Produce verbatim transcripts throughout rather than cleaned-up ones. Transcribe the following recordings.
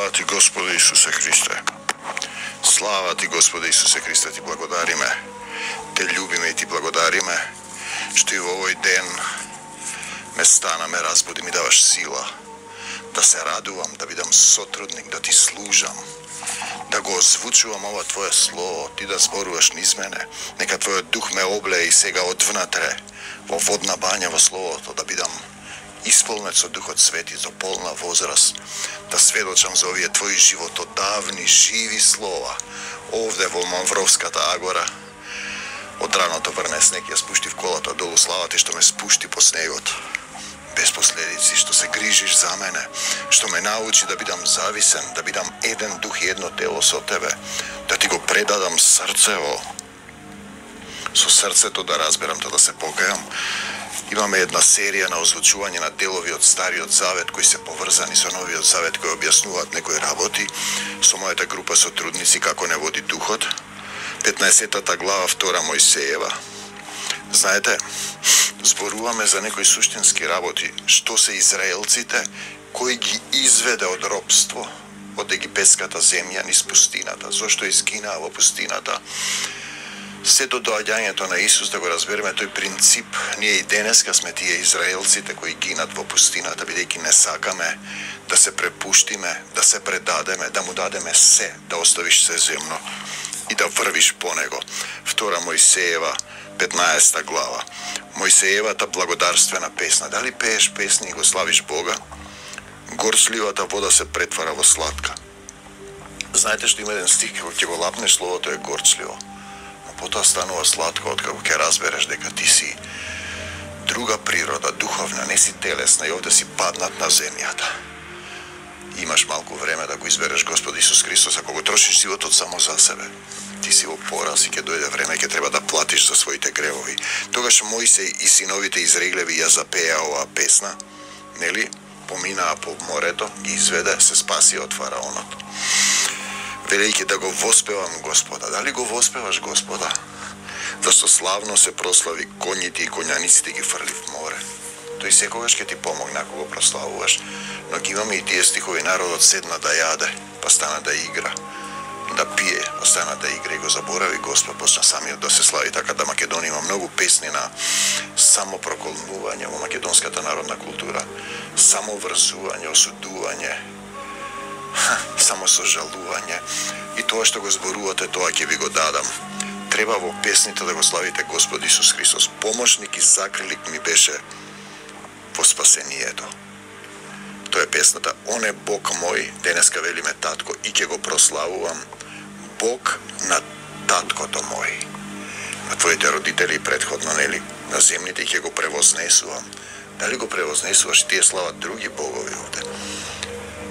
Слава ти, Господи Исусе Христе. Слава ти, Господи Исусе Христе, ти благодариме. Те љубиме и ти благодариме, што и во овој ден ме стана, ме разбуди, ми даваш сила да се радувам, да бидам сотрудник, да ти служам, да го озвучувам ова Твое Слово, ти да зборуваш низ мене. Нека Твојот дух ме облее и сега одвнатре, во водна бања во Словото, да бидам исполнет со Духот Свети до полна возраст, да сведочам за овие Твои животодавни, живи слова, овде во Мавровската агора. Од раното врне снег, ја спушти в колата долу, слава ти што ме спушти по снегот, без последици, што се грижиш за мене, што ме научи да бидам зависен, да бидам еден дух и едно тело со Тебе, да ти го предадам срцево, со срцето да разберам, да се покајам. Имаме една серија на озвучување на делови од Стариот Завет кои се поврзани со Новиот Завет, кои објаснуваат некои работи со мојата група сотрудници како не води Духот. петнаесеттата глава втора Мојсеева. Знаете, зборуваме за некои суштински работи, што се израелците кои ги изведе од робство, од египетската земја низ пустината. Зошто изгинаа во пустината? Се до доаѓањето на Исус, да го разбереме тој принцип, ние и денеска сме тие израелците кои гинат во пустината, бидејќи не сакаме да се препуштиме, да се предадеме, да му дадеме се, да оставиш се земно и да врвиш по него. Втора Мојсеева, петнаесета глава. Мојсеевата благодарствена песна. Дали пееш песни и го славиш Бога? Горчливата вода се претвара во сладка. Знаете што има еден стих, кога ќе го лапнеш словото е горчливо, но потоа станува сладко откако ќе разбереш дека ти си друга природа, духовна, не си телесна и овде си паднат на земјата. Имаш малку време да го избереш Господ Исус Христос, ако го трошиш животот само за себе, ти си во пораз и ќе дојде време, ќе треба да платиш за своите гревови. Тогаш Мојсей и синовите Израилеви ја запеа оваа песна, нели? Поминаа по морето, ги изведе, се спаси од фараонот. Велејќи да го воспевам Господа. Дали го воспеваш Господа? Зашто славно се прослави, коњите и коњаниците ги фрли в море. Тој секогаш ќе ти помогне ако го прославуваш, но ги имаме и тие стихови, народот седна да јаде, па стана да игра, да пие, па стана да игра и го заборави Господ, почна самиот да се слави. Така да Македонија има многу песни на самопроколнување во македонската народна култура, самоврзување, осудување, само сожалување, и тоа што го зборувате, тоа ќе ви го дадам. Треба во песните да го славите Господ Исус Христос. Помошник и закрилик ми беше во спасението. Тоа е песната. Он е Бог мој, денеска велиме татко, и ќе го прославувам, Бог на таткото мој. На твоите родители предходно, нели, на земните, ќе го превознесувам. Дали го превознесуваш, тие слават други богови овде?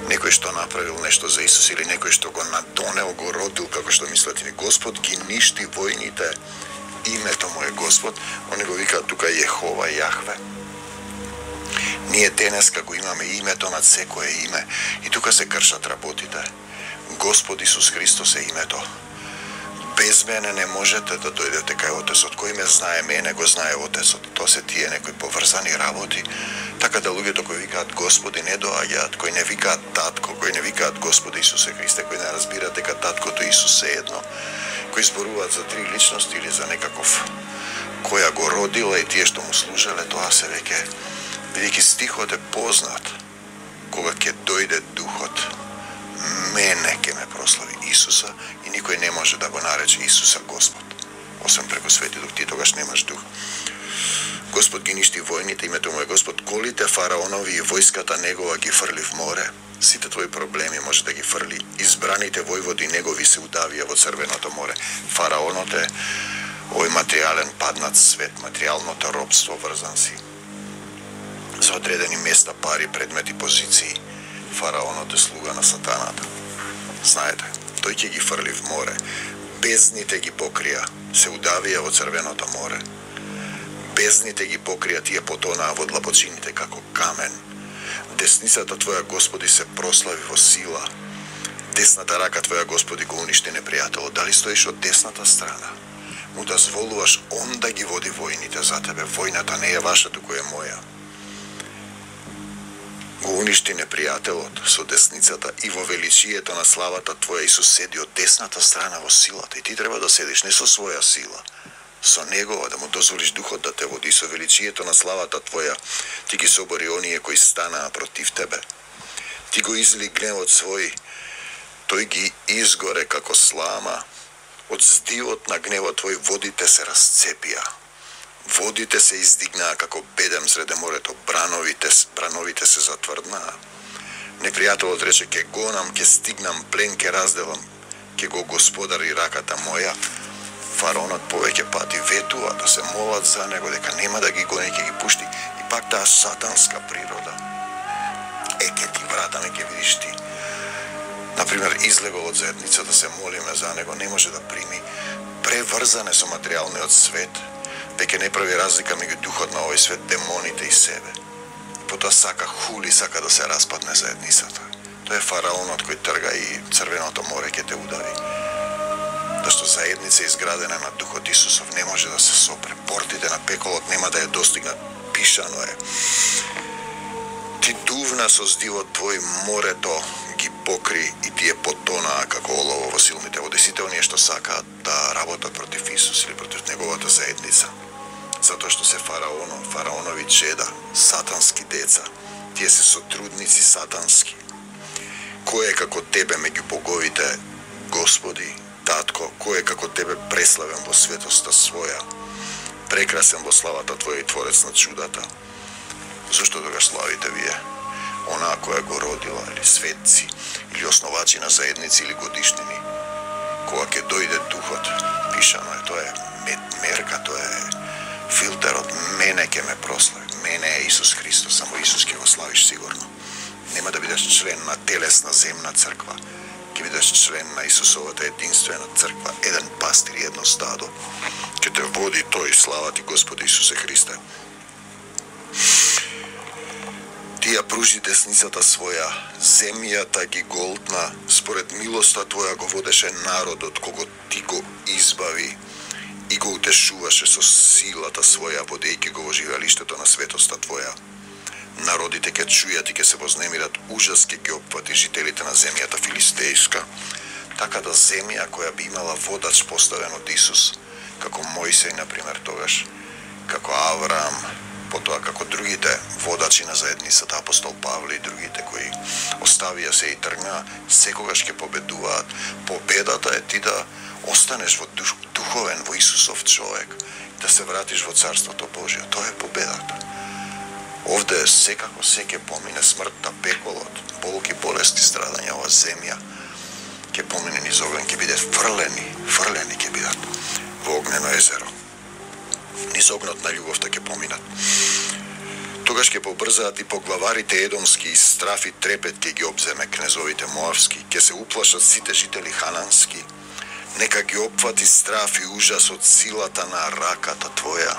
Некој што направил нешто за Исус или некој што го надонел, го родил, како што мислите ни. Господ ги ништи војните, името му е Господ, они го викаат тука Јехова, Јахве. Ние денеска го имаме името над секое име и тука се кршат работите. Господ Исус Христос е името. Без мене не можете да дојдете кај Отецот. Кој ме знае мене, го знае Отецот. Тоа се тие некои поврзани работи. Така да луѓето кои викаат Господи не доаѓаат, кои не викаат татко, кои не викаат Господи Исусе Христе, кои не разбираат дека таткото Исус е едно, кои зборуваат за три личности или за некаков која го родила и тие што му служеле, тоа се веќе, бидејќи стихот е познат, кога ќе дојде Духот, мене ќе ме прослави Исуса и никој не може да го нарече Исуса Господ, освен преку Свети Дух, ти тогаш немаш Дух. Господ ги ништи војните, името му е Господ, колите фараонови и војската негова ги фрли в море, сите твои проблеми може да ги фрли, избраните војводи негови се удавија во Црвеното море. Фараонот е овој материјален паднат свет, материјалното робство, врзан си за одредени места, пари, предмети, позиции. Фараонот е слуга на сатаната. Знаете, тој ќе ги фрли в море. Бездните ги покрија, се удавија во Црвеното море. Бездните ги покрија, тие потонаа во длабочините како камен. Десницата Твоја, Господи, се прослави во сила. Десната рака Твоја, Господи, го уништи непријателот. Дали стоиш од десната страна? Му дозволуваш он да ги води војните за тебе. Војната не е ваша, туку е моја. го уништи непријателот со десницата и во величието на славата Твоја Исус седи од десната страна во силата. И ти треба да седиш не со своја сила, со Негова, да му дозволиш Духот да те води. Со величието на славата Твоја ти ги собори оние кои станаа против Тебе. Ти го изли гневот свој, тој ги изгоре како слама. Од здивот на гневот Твој водите се расцепија. Водите се издигнаа како бедем среде морето, брановите, брановите се затврднаа. Непријателот рече, ке гонам, ке стигнам, плен ке разделам, ке го господари раката моја. Фараонот повеќе пати ветува да се молат за него, дека нема да ги гони, ке ги пушти. И пак таа сатанска природа. Е, ке ти вратаме, ке видиш ти. Например, излегол од заедница да се молиме за него, не може да прими. Преврзане со материјалниот свет, веќе не прави разлика меѓу духот на овој свет, демоните и себе. Потоа сака хули, сака да се распадне заедницата. Тоа е фараонот кој трга и Црвеното море ќе те удави. Зашто заедница изградена на Духот Исусов не може да се сопре. Портите на пеколот нема да ја достигнат, пишано е. Ти дувна со здивот Твој морето ги покри и тие потонаа како олово во силните води. Сите оние што сакаат да работат против Исус или против неговата заедница. Затоа што се фараоно, фараонови чеда, сатански деца. Тие се сотрудници сатански. Кој е како Тебе меѓу боговите, Господи, Татко, кој е како Тебе преславен во светоста своја, прекрасен во славата Твоја и Творец на чудата. Зошто тогаш славите Вие? Онаа која го родила, или светци, или основачи на заедници или годишнини. Кога ќе дојде Духот, пишано е, тоа е мерка, тоа е филтерот, мене ќе ме прослави, мене е Исус Христос, само Исус ќе го славиш сигурно. Нема да бидеш член на телесна земна црква, ќе бидеш член на Исусовата единствена црква, еден пастир и едно стадо. Ќе те води тој, слава Ти Господи Исусе Христе. Ти ја пружи десницата своја, земјата ги голтна, според милоста Твоја го водеше народот, кого Ти го избави и го утешуваше со силата своја, водејќи го во живеалиштето на светоста Твоја. Народите ќе чујат и ќе се вознемират, ужас ќе ги опфати жителите на земјата филистејска. Така да земја која би имала водач поставен од Исус, како Мојсей, например, тогаш, како Авраам, потоа како другите водачи на заедницата, апостол Павле и другите кои оставија се и тргнаа, секогаш ќе победуваат. Победата е ти да останеш во дух, духовен, во Исусов човек, да се вратиш во Царството Божие. Тоа е победата. Овде секако се ќе помине смртта, пеколот, болки, болести, страдања, ова земја ќе помине низ огнен, ќе биде фрлени, фрлени ќе бидат во огнено езеро. Низ огнот на љубовта ќе поминат. Тогаш ќе побрзаат и поглаварите едомски, и страф и трепет ќе ги обземе кнезовите моавски, ќе се уплашат сите жители ханански. Нека ги опфати страф и ужас од силата на раката Твоја.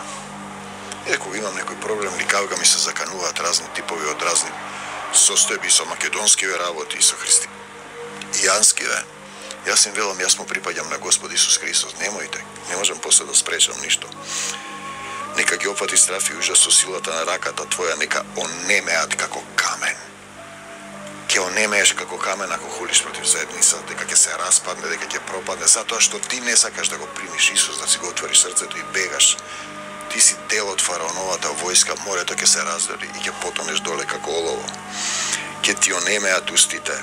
Е, кога имам некој проблем, ликавга ми се закануваат разни типови од разни состојби со македонскиве работи и со христијанскиве. Јас им велам, јас му припаѓам на Господ Исус Христос. Немојте, не можам после да спречам ништо. Нека ги опфати страф и ужас со силата на раката Твоја, нека онемеат како камен. Ќе онемееш како камен ако хулиш против заедницата, дека ќе се распадне, дека ќе пропадне, затоа што ти не сакаш да го примиш Исус, да си го отвориш срцето и бегаш. Ти си дел од фараоновата војска, морето ќе се раздели и ќе потонеш доле како олово. Ќе ти онемеат устите,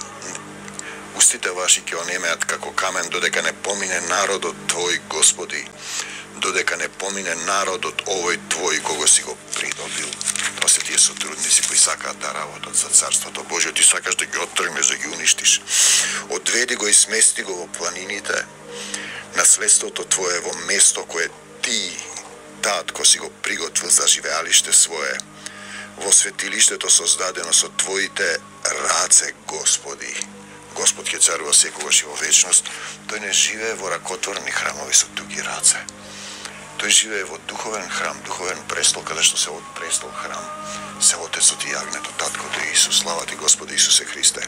устите ваши ќе онемеат како камен, додека не помине народот Твој, Господи, додека не помине народот овој Твој, кого си го придобил. Тоа се тие сотрудници кои сакаат да работат за Царството Божие, ти сакаш да ги оттргнеш, да ги уништиш. Одведи го и смести го во планините, наследството Твое во место кое ти, Татко, си го приготвил за живеалиште свое, во светилиштето создадено со Твоите раце, Господи. Господ ќе царува секогаш и во вечност. Тој не живее во ракотворни храмови со туги раце. Тој живее во духовен храм, духовен престол, каде што се од престол храм се Отецот и јагнето, Таткото и Исус. Слава Ти, Господи Исусе Христе.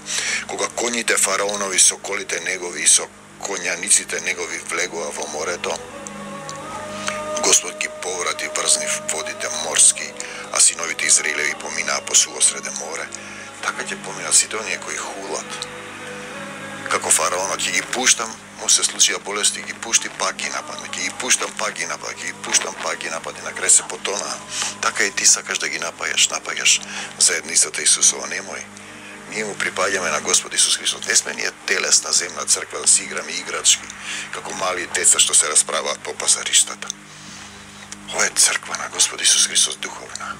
Кога коњите фараонови со колите негови и со коњаниците негови влегува во морето, Господ ги поврати врзни водите морски, а синовите Израилеви поминаа по суво среде море. така ќе поминат сите оние кои хулат. Како фараонот, ќе ги пуштам, му се случија болести, ги пушти, пак ги нападне, ќе ги пуштам, пак ги нападне, ќе ги пуштам, пак ги нападне, на крај се потона. Така и ти сакаш да ги напаѓаш, напаѓаш заедницата Исусова, немој. Ние му припаѓаме на Господ Исус Христос. Не сме ние телесна земна црква да си играме играчки, како мали деца што се расправаат по пазариштата. Ова е црква на Господ Исус Христос духовна.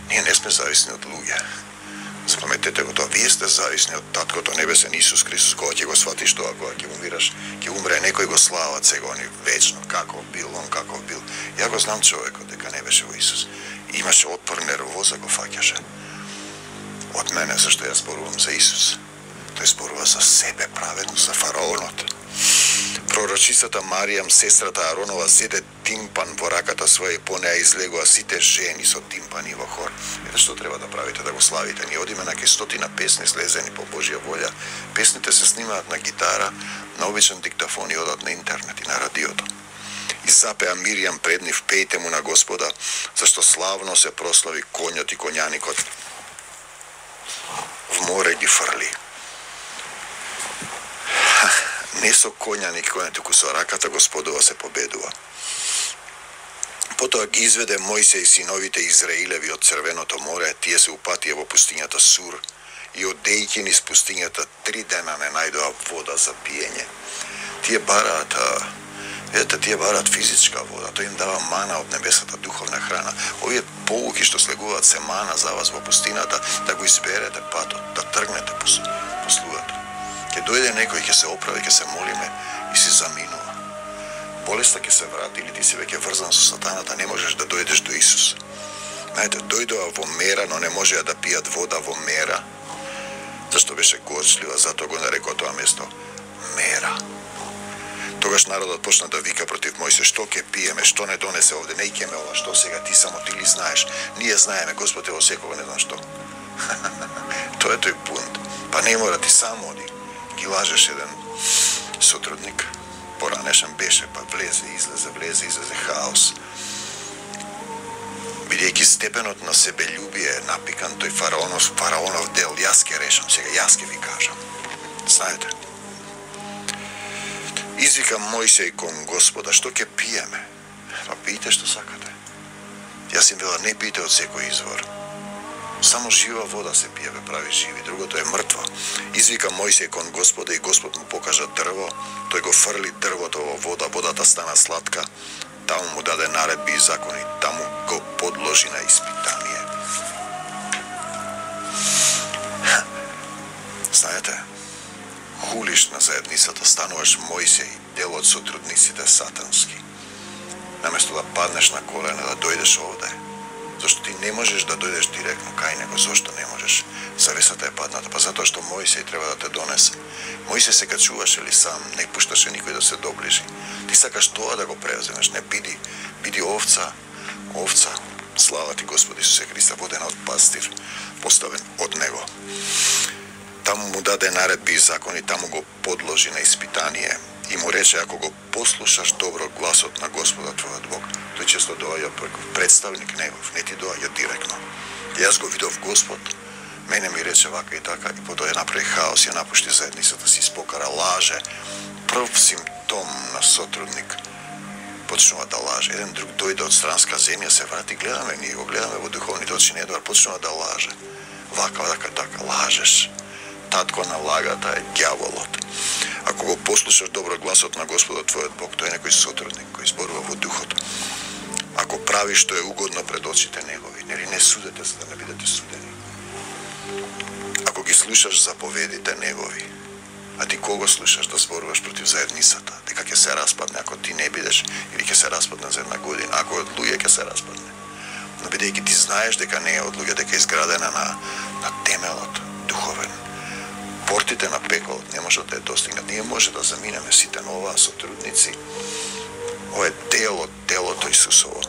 Ние не сме зависни од луѓе. Запаметете го тоа, вие сте зависни од Таткото Небесен Исус Христос, кога ќе го сватиш тоа, кога ќе умираш, ќе умре некој го слават сега они вечно, како бил, он како бил. Ја го знам човекот дека не беше во Исус. Имаше отпор, нервоза го фаќаше. Од мене, зашто ја зборувам за Исус. Тој зборува за себе праведно, за фараонот. Пророчицата Маријам, сестрата Аронова, зеде тимпан во раката своја и по неа излегоа сите жени со тимпани во хор. Ете што треба да правите, да го славите. Ние одиме на ке стотина песни слезени по Божја волја. Песните се снимаат на гитара, на обичен диктафон и одат на интернет и на радиото. И запеа Миријам пред нив, пејте му на Господа, зашто славно се прослави конјот и коњаникот. В море ги фрли. Не со коњаник, кој туку со раката Господова се победува. Потоа ги изведе Мојсей синовите Израилеви од Црвеното море, тие се упатија во пустињата Сур и одејќи низ пустињата три дена не најдоа вода за пиење. Тие бараат, видите, тие бараат физичка вода, тој им дава мана од небесата, духовна храна. Овие полуки што слегуваат се мана за вас во пустината, да го изберете патот, да тргнете по слугата. Ќе дојде некој, ќе се оправи, ќе се молиме и си заминува. Болеста ќе се врати или ти си веќе врзан со сатаната, не можеш да дојдеш до Исус. Знаете, дојдоа во мера, но не можеа да пијат вода во мера. Зашто беше горчлива, затоа го нарекоа тоа место Мера. Тогаш народот почна да вика против Мојсе, што ќе пиеме, што не донесе овде, не икеме ова, што сега ти само ти ли знаеш, ние знаеме, Господ е во секого, не знам што. Тоа е тој бунт. Па не мора, ти само оди. Ги лажеш еден сотрудник, поранешен беше, па влезе, излезе, влезе, излезе, хаос. Бидејќи степенот на себељубие е напикан, тој фараонов, фараонов дел, јас ке решам, сега јас ке ви кажам. Знаете, извика Мојсей кон Господа, што ќе пиеме? Па пијте што сакате. Јас им вела, не пијте од секој извор. Само жива вода се пие, ве прави живи, другото е мртво. Извика Мојсей кон Господа и Господ му покажа дрво, тој го фрли дрвото во вода, водата стана сладка, таму му даде наредби и закони, таму го подложи на испитание. Знаете, хулиш на заедницата, стануваш Мојсей, дел од сотрудниците сатански. Наместо да паднеш на колена, да дојдеш овде, зашто ти не можеш да дојдеш директно кај него. Зошто не можеш? Завесата е падната, па затоа што Мојсей треба да те донесе. Мојсей се качуваше ли сам, не пушташе никој да се доближи. Ти сакаш тоа да го превземеш, не биди, биди овца, овца. Слава ти Господи Исусе Христа, водена од пастир, поставен од него. Таму му даде наредби и закони, таму го подложи на испитание и му рече, ако го послушаш добро гласот на Господа твојот Бог, тој често доаѓа преку представник негов, не ти доаѓа директно. Јас го видов Господ, мене ми рече вака и така, и потоа ја направи хаос, ја напушти заедницата, си спокара, лаже. Прв симптом на сотрудник почнува да лаже. Еден друг дојде од странска земја, се врати, гледаме, ние го гледаме во духовните очи, не едвар почнува да лаже. Вака, вака, така, лажеш. Татко на лагата е ѓаволот. Ако го послушаш добро гласот на Господа твојот Бог, тој е некој сотрудник кој зборува во духот. Ако правиш што е угодно пред очите негови, нели не судете за да не бидете судени. Ако ги слушаш заповедите негови, а ти кого слушаш да зборуваш против заедницата, дека ќе се распадне ако ти не бидеш, или ќе се распадне за една година, ако од луѓе ќе се распадне. Но бидејќи ти знаеш дека не е од луѓе, дека е изградена на, на темелот духовен, портите на пеколот не можат да ја достигнат. Ние може да заминеме сите на оваа сотрудници. Ова е дел од телото Исусово.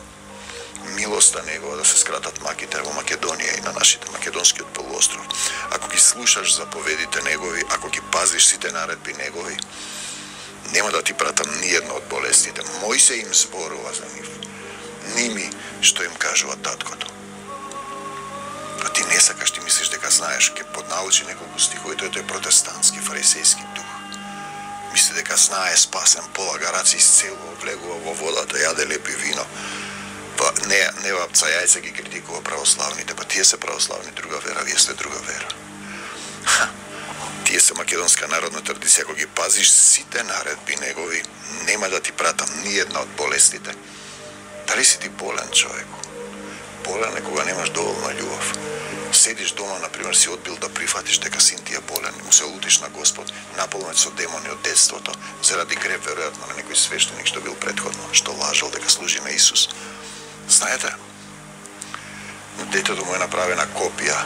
Милоста негова да се скратат маките во Македонија и на нашите македонскиот полуостров. Ако ги слушаш заповедите негови, ако ги пазиш сите наредби негови, нема да ти пратам ниедно од болестите. Мојсей им зборува за нив. Ними што им кажува таткото. Па ти не сакаш, ти мислиш дека знаеш, ке поднаучи неколку стихови, тој е протестантски, фарисејски дух. Мисли дека знае, спасен, полага раци, исцелува, влегува во водата, јаде лепи вино. Па не, не вапца јајца ги критикува православните, па тие се православни, друга вера, вие сте друга вера. Ха, тие се македонска народна традиција, ако ги пазиш сите наредби негови, нема да ти пратам ни една од болестите. Дали си ти болен, човеку? Болен е кога немаш доволно љубов. Седиш дома, например, си одбил да прифатиш дека син ти е болен, му се лутиш на Господ, наполнет со демони од детството, заради грев, веројатно, на некој свештеник што бил претходно, што лажал дека служи на Исус. Знаете, детето му е направена копија,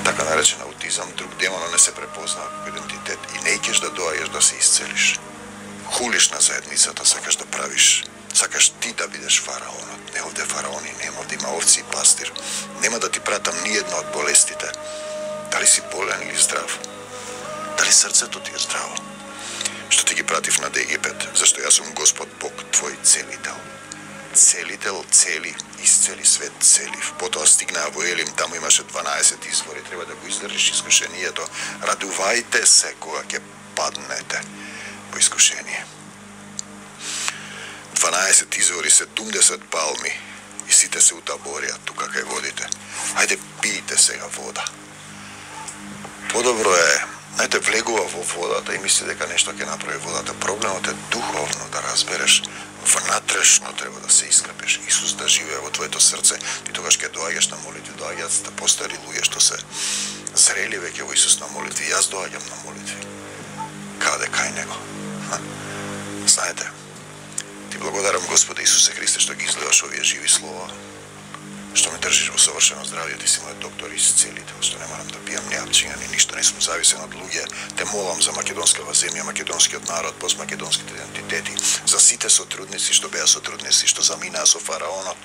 така наречен аутизам, друг демон не се препозна како идентитет и не икеш да доаѓаш да се исцелиш. Хулиш на заедницата, сакаш да правиш, сакаш ти да бидеш фараонот. Не овде фараони, нема, овде има овци и пастир. Нема да ти пратам ни една од болестите. Дали си болен или здрав? Дали срцето ти е здраво? Што ти ги пратив над Египет, зашто јас сум Господ Бог, твој целител. Целител, цели, исцели свет, целив. Потоа стигнаа во Елим, таму имаше дванаесет извори, треба да го издржиш искушението. Радувајте се кога ќе паднете во искушение. дванаесет извори, седумдесет палми и сите се утаборија тука кај водите. Ајде пијте сега вода. Подобро е, знаете, влегува во водата и мисли дека нешто ќе направи водата. Проблемот е духовно да разбереш. Внатрешно треба да се искрепеш. Исус да живее во твоето срце. И тогаш ќе доаѓаш на молитви, доаѓаат да постари луѓе што се зрели веќе во Исус на молитви. Јас доаѓам на молитви. Каде кај него? Ха. Знаете, ти благодарам Господе Исусе Христе што ги изливаш овие живи слова, што ме држиш во совршено здравје, ти си мојот доктор и исцелител, што не морам да пијам ни апчиња, ни ништо, не сум зависен од луѓе. Те молам за македонскава земја, македонскиот народ, постмакедонските идентитети, за сите сотрудници што беа сотрудници, што заминаа со фараонот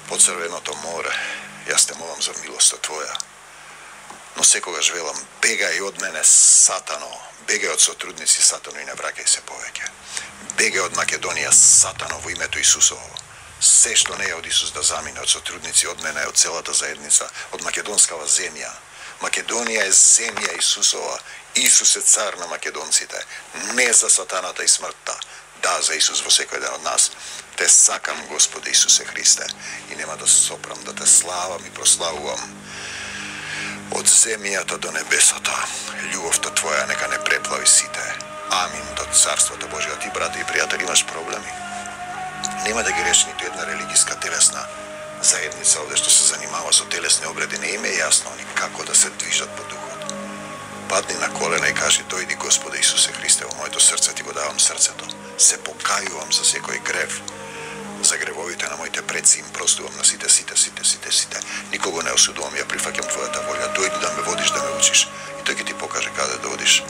под Црвеното море. Јас те молам за милоста твоја. Но секогаш велам, бегај од мене, сатано, бегај од сотрудници, сатано, и не враќај се повеќе. Бегај од Македонија, сатано, во името Исусово. Се што не е од Исус да замине, од сотрудници, од мене, од целата заедница, од македонскава земја. Македонија е земја Исусова. Исус е цар на македонците. Не за сатаната и смртта. Да, за Исус во секој ден од нас. Те сакам, Господе Исусе Христе, и нема да сопрам, да те славам и прославувам. Од земјата до небесата, љубовта Твоја нека не преплави сите. Амин до Царството Божие. Ти, брате и пријатели, имаш проблеми. Нема да ги реши ниту една религиска телесна заедница овде што се занимава со телесни обреди. Не им е јасно ни како да се движат по духот. Падни на колена и кажи, дојди Господе Исусе Христе, во моето срце ти го давам срцето. Се покајувам за секој грев. За гревовите на моите предци им простувам на сите, сите, сите, сите, сите. Никого не осудувам, ја прифаќам Твојата волја. Дојди да ме водиш, да ме учиш. И тој ќе ти покаже каде да одиш.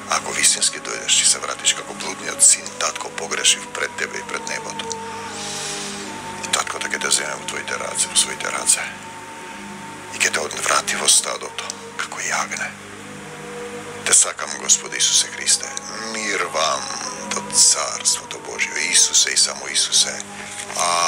Ако вистински дојдеш, ќе се вратиш како блудниот син, татко погрешив пред тебе и пред небото. И таткото ќе те земе во твоите раце, во своите раце. И ќе те одврати во стадото, како јагне. Те сакам, Господи Исусе Христе. Мир вам до Царството Божие. Исусе и само Исусе.